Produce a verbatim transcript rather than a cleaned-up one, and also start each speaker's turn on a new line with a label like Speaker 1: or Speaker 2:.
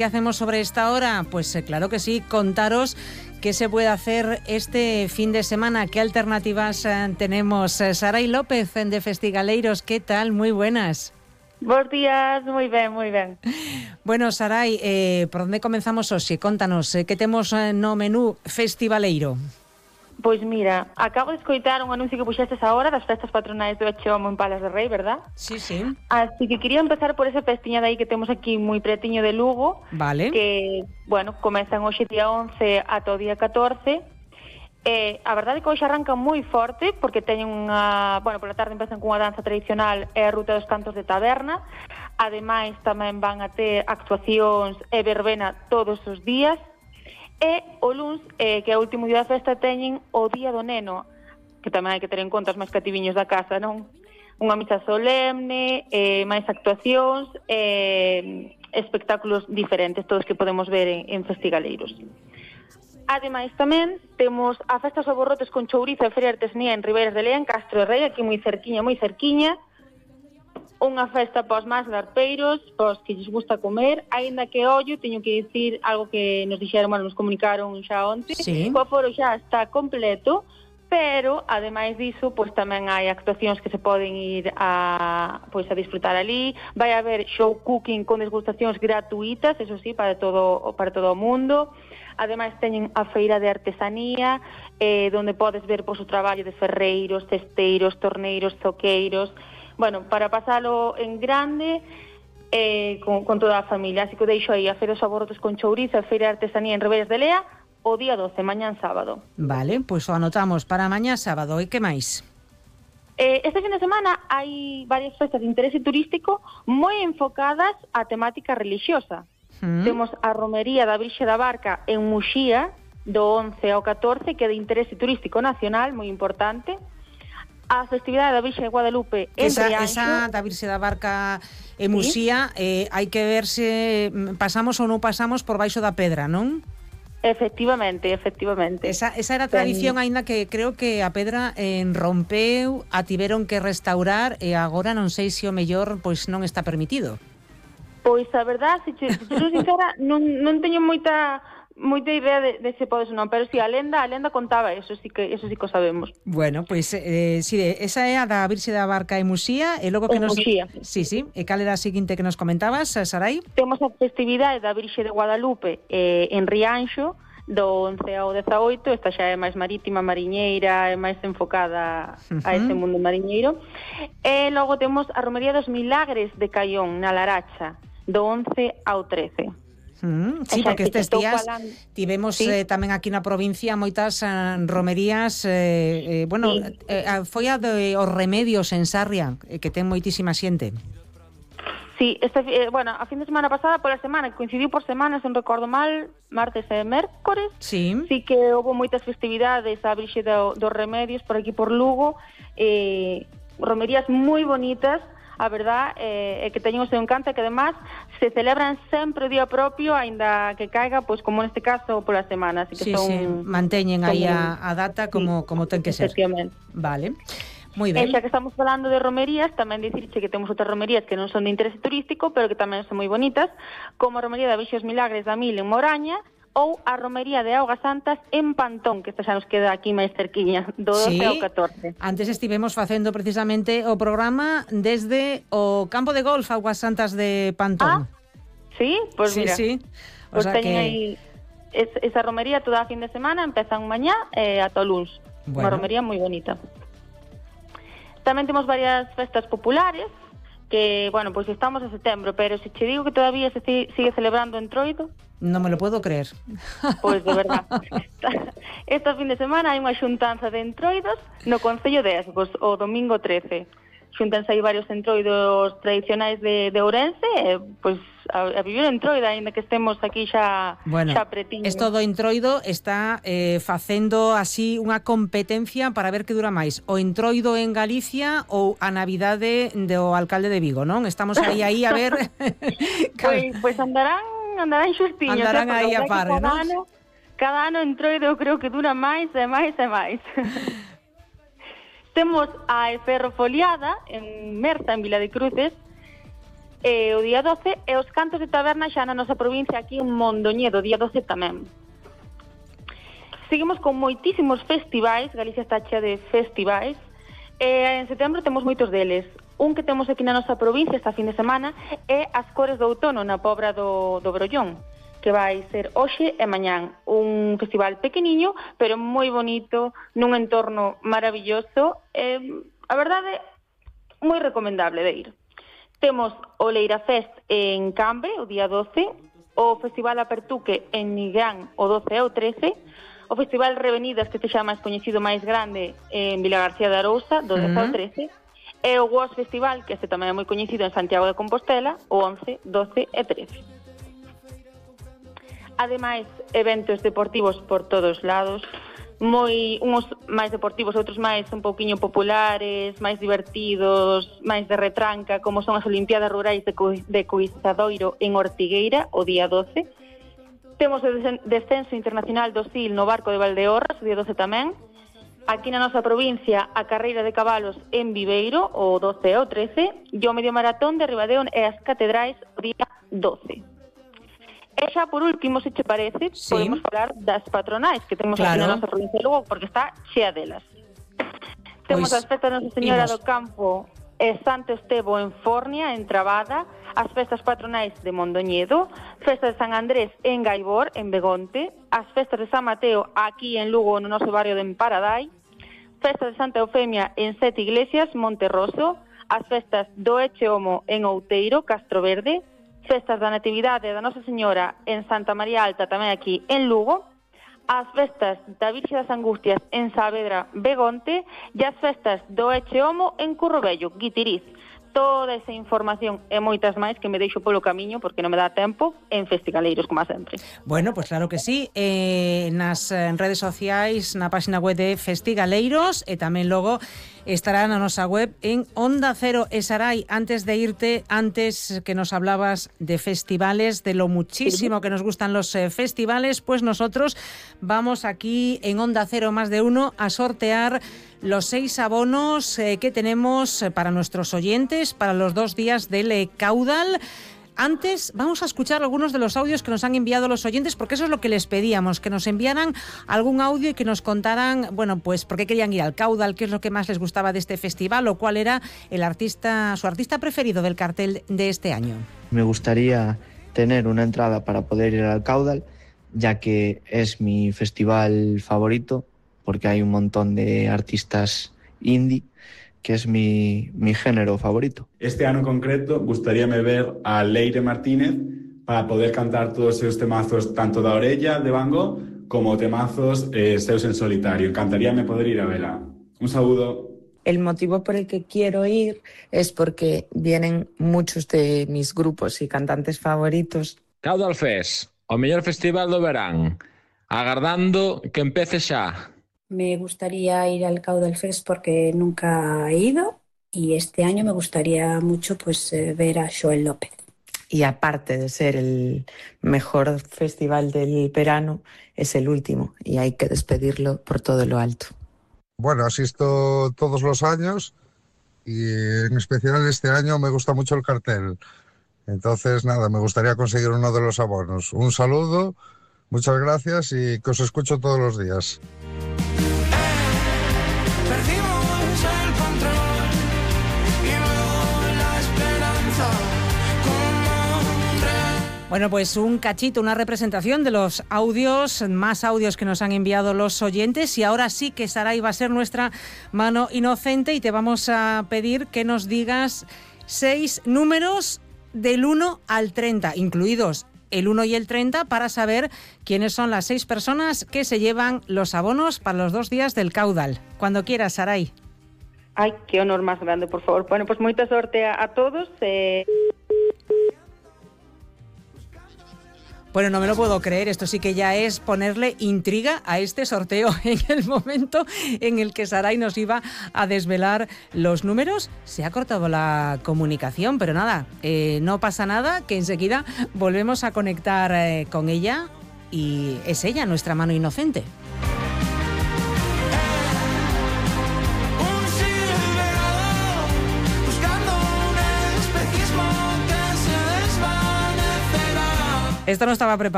Speaker 1: ¿Qué hacemos sobre esta hora? Pues eh, claro que sí, contaros qué se puede hacer este fin de semana, qué alternativas eh, tenemos. Eh, Sarai López de Festigaleiros, ¿qué tal? Muy buenas.
Speaker 2: Bos días, moi ben, moi ben.
Speaker 1: Bueno, Sarai, eh, por onde comenzamos hoxe? Contanos, eh, que temos eh, no menú festivaleiro?
Speaker 2: Pois mira, acabo de escoitar un anuncio que puxestes agora das festas patronais do Echomo en Palas de Rei, verdad?
Speaker 1: Sí, sí.
Speaker 2: Así que quería empezar por esa festiña de aí que temos aquí moi pretiño de Lugo.
Speaker 1: Vale.
Speaker 2: Que, bueno, comezan hoxe día once ata o día catorce. Eh, a verdade é que hoxe arrancan moi forte porque teñen unha, bueno, pola tarde empezan cunha danza tradicional e a ruta dos cantos de taberna. Ademais tamén van a ter actuacións e verbena todos os días. E o luns, eh, que é o último día da festa, teñen o Día do Neno, que tamén hai que ter en conta os máis cativiños da casa, non? Unha misa solemne, eh, máis actuacións, eh, espectáculos diferentes, todos que podemos ver en, en Festigaleiros. Ademais tamén temos a Festa aos Aborrotes con chourizo e feria de artesanía en Ribeiras de Lea, en Castro de Rei, aquí moi cerquiña, moi cerquiña. Unha festa pos máis larpeiros, pos que lles gusta comer, aínda que ollo, teño que dicir algo que nos dixeron, bueno, nos comunicaron xa onte,
Speaker 1: sí.
Speaker 2: O aforo xa está completo, pero ademais diso, pois tamén hai actuacións que se poden ir a, pois, a disfrutar ali. Vai haber show cooking con desgustacións gratuitas, eso sí, para todo para todo o mundo. Ademais teñen a feira de artesanía, eh, donde podes ver pois, o traballo de ferreiros, cesteiros, torneiros, zoqueiros. Bueno, para pasalo en grande eh, con, con toda a familia. Así que deixo aí a Feira dos Aborrotes con chourizo, a Feira de Artesanía en Ribeiras de Lea, o día doce, mañán sábado.
Speaker 1: Vale, pois pues o anotamos para mañá sábado. E que máis?
Speaker 2: Eh, este fin de semana hai varias festas de interese turístico moi enfocadas á temática religiosa. Mm. Temos a Romería da Virxe da Barca en Muxía, do once ao catorce, que é de interese turístico nacional, moi importante. A festividade da Virxe de Guadalupe en
Speaker 1: esa,
Speaker 2: Rianxo.
Speaker 1: Esa da Virxe da Barca en Muxía, ¿sí? eh, hai que ver se pasamos ou non pasamos por baixo da pedra, non?
Speaker 2: Efectivamente, efectivamente.
Speaker 1: Esa, esa era a tradición, aínda que creo que a pedra en rompeu, a tiveron que restaurar e agora non sei se o mellor pois non está permitido.
Speaker 2: Pois a verdade, se te, se te sincera, non, non teño moita moita idea de, de se podes ou non, pero si, sí, a lenda, a lenda contaba eso, sí que eso sí que o sabemos.
Speaker 1: Bueno, pois pues, eh, si, esa é a da Virxe da Barca e Muxía, e logo que
Speaker 2: en
Speaker 1: nos
Speaker 2: Muxía.
Speaker 1: Sí, sí, e cal era a seguinte que nos comentabas, Sarai?
Speaker 2: Temos a festividade da Virxe de Guadalupe eh, en Rianxo, do once ao dezaoito, esta xa é máis marítima, mariñeira, é máis enfocada uh-huh. a ese mundo mariñeiro. E logo temos a Romería dos Milagres de Caión, na Laracha, do once ao trece.
Speaker 1: Mm, sí, porque estes días tivemos sí. eh, tamén aquí na provincia moitas uh, romerías eh, eh, bueno, sí. eh, foi a de os Remedios en Sarria, eh, que ten moitísima xente.
Speaker 2: Sí, este, eh, bueno, a fin de semana pasada, pola semana, que coincidiu por semanas, non recordo mal, martes e mércores,
Speaker 1: sí,
Speaker 2: sí que houve moitas festividades a Virxe do, dos Remedios por aquí por Lugo, eh, romerías moi bonitas, a verdad é eh, que teñen o seu encanto, que además se celebran sempre o día propio, aínda que caiga, pois como neste caso, pola semana. Así que
Speaker 1: sí,
Speaker 2: son,
Speaker 1: sí, manteñen aí a, a data como, sí, como ten que ser. Vale, moi ben.
Speaker 2: E xa que estamos falando de romerías, tamén dicirche que temos outras romerías que non son de interese turístico, pero que tamén son moi bonitas, como a Romería da Virxe dos Milagres da Mil en Moraña, ou a Romería de Augas Santas en Pantón, que esta xa nos queda aquí máis cerquiña, do doce
Speaker 1: sí,
Speaker 2: ao catorce.
Speaker 1: Antes estivemos facendo precisamente o programa desde o campo de golf Augas Santas de Pantón.
Speaker 2: Ah, sí? Pois pues
Speaker 1: sí,
Speaker 2: mira,
Speaker 1: sí.
Speaker 2: O pues
Speaker 1: sea
Speaker 2: teñen
Speaker 1: que...
Speaker 2: aí es, esa romería toda a fin de semana, empezan mañá e eh, ata o luns.
Speaker 1: Bueno.
Speaker 2: Unha romería moi bonita. Tamén temos varias festas populares, que, bueno, pois pues estamos en setembro, pero se che digo que todavía se sigue celebrando en Troido...
Speaker 1: Non me lo puedo creer.
Speaker 2: Pois de verdad. Este fin de semana hai unha xuntanza de entroidos no Concello de Esgos, o domingo trece. Xuntanse aí varios entroidos tradicionais de, de Ourense, e, pois a, a vivir en Troida, ainda que estemos aquí xa,
Speaker 1: bueno,
Speaker 2: xa pretiño.
Speaker 1: Esto do entroido está eh, facendo así unha competencia para ver que dura máis, o entroido en Galicia ou a Navidade do alcalde de Vigo, non? Estamos aí aí a ver...
Speaker 2: Pois, pois andarán andarán xustiños.
Speaker 1: Andarán aí a par,
Speaker 2: cada
Speaker 1: non?
Speaker 2: Ano, cada ano entroido eu creo que dura máis e máis e máis. Temos a Ferro Foliada en Merza, en Vila de Cruces, eh, o día doce, e os cantos de taberna xa na nosa provincia aquí en Mondoñedo, día doce tamén. Seguimos con moitísimos festivais, Galicia está chea de festivais, e en setembro temos moitos deles. Un que temos aquí na nosa provincia esta fin de semana é as Cores do Outono na Pobra do, do Brollón, que vai ser hoxe e mañán. Un festival pequeniño, pero moi bonito, nun entorno maravilloso. Eh, a verdade, moi recomendable de ir. Temos o Leira Fest en Cambre, o día doce, o Festival Apertuque en Nigrán, o doce e o trece, o Festival Revenidas, que se xa máis coñecido máis grande, en Vilagarcía de Arousa, do dez ao trece, e o W O S Festival, que este tamén é moi coñecido en Santiago de Compostela, o once, doce e trece. Ademais, eventos deportivos por todos lados, moi uns máis deportivos, outros máis un pouquiño populares, máis divertidos, máis de retranca, como son as Olimpiadas Rurais de, Co- de Coizadoiro en Ortigueira, o día doce. Temos o descenso internacional do S I L no barco de Valdeorras, o día doce tamén. Aquí na nosa provincia, a carreira de cabalos en Viveiro, o doce e o trece, e o medio maratón de Ribadeón e as catedrais, o día doce. E xa, por último, se che parece, sí, podemos falar das patronais que temos claro aquí na nosa provincia de Lugo, porque está chea delas. Pues, temos as festas de Nosa Señora imos. do Campo e Santo Estevo en Fornia, en Trabada, as festas patronais de Mondoñedo, festas de San Andrés en Gaibor, en Begonte, as festas de San Mateo aquí en Lugo, no noso barrio de Emparadai, festas de Santa Eufemia en Sete Iglesias, Monterroso, as festas do Echeomo en Outeiro, Castro Verde, festas da Natividade da Nosa Señora en Santa María Alta, tamén aquí en Lugo, as festas da Virxe das Angustias en Saavedra, Begonte, e as festas do Echeomo en Currobello, Guitiriz. Toda esa información e moitas máis que me deixo polo camiño porque non me dá tempo en Festigaleiros, como sempre.
Speaker 1: Bueno, pues claro que sí, eh, nas redes sociais, na página web de Festigaleiros e tamén logo estará na nosa web en Onda Cero. E Sarai, antes de irte, antes que nos hablabas de festivales, de lo muchísimo que nos gustan los eh, festivales, pues nosotros vamos aquí en Onda Cero Más de Uno a sortear los seis abonos eh, que tenemos para nuestros oyentes para los dos días del eh, Caudal. Antes vamos a escuchar algunos de los audios que nos han enviado los oyentes, porque eso es lo que les pedíamos, que nos enviaran algún audio y que nos contaran, bueno, pues por qué querían ir al Caudal, qué es lo que más les gustaba de este festival o cuál era el artista, su artista preferido del cartel de este año.
Speaker 3: Me gustaría tener una entrada para poder ir al Caudal, ya que es mi festival favorito, porque hay un montón de artistas indie, que es mi, mi género favorito.
Speaker 4: Este ano en concreto gustaríame ver a Leire Martínez para poder cantar todos esos temazos tanto da orella de Van Gogh como temazos eh, seus en solitario. Encantaríame poder ir a verla. Un saludo.
Speaker 5: El motivo por el que quiero ir es porque vienen muchos de mis grupos y cantantes favoritos.
Speaker 6: Caudal Fest, o mellor festival do verán, agardando que empece xa.
Speaker 7: Me gustaría ir al Caudal Fest porque nunca he ido y este año me gustaría mucho pues eh, ver a Joel López.
Speaker 5: Y aparte de ser el mejor festival del verano, es el último y hay que despedirlo por todo lo alto.
Speaker 8: Bueno, asisto todos los años y en especial este año me gusta mucho el cartel. Entonces, nada, me gustaría conseguir uno de los abonos. Un saludo, muchas gracias y que os escucho todos los días.
Speaker 1: Bueno, pues un cachito, una representación de los audios, más audios que nos han enviado los oyentes, y ahora sí que Sarai va a ser nuestra mano inocente y te vamos a pedir que nos digas seis números del uno al treinta, incluidos el uno y el treinta, para saber quiénes son las seis personas que se llevan los abonos para los dos días del Caudal. Cuando quieras, Sarai.
Speaker 2: Ay, qué honor más grande, por favor. Bueno, pues moita sorte a, a todos. Eh...
Speaker 1: Bueno, no me lo puedo creer, esto sí que ya es ponerle intriga a este sorteo. En el momento en el que Sarai nos iba a desvelar los números, se ha cortado la comunicación, pero nada, eh, no pasa nada, que enseguida volvemos a conectar eh, con ella y es ella nuestra mano inocente.
Speaker 9: Buscando un espejismo que
Speaker 1: Esto no estaba preparado.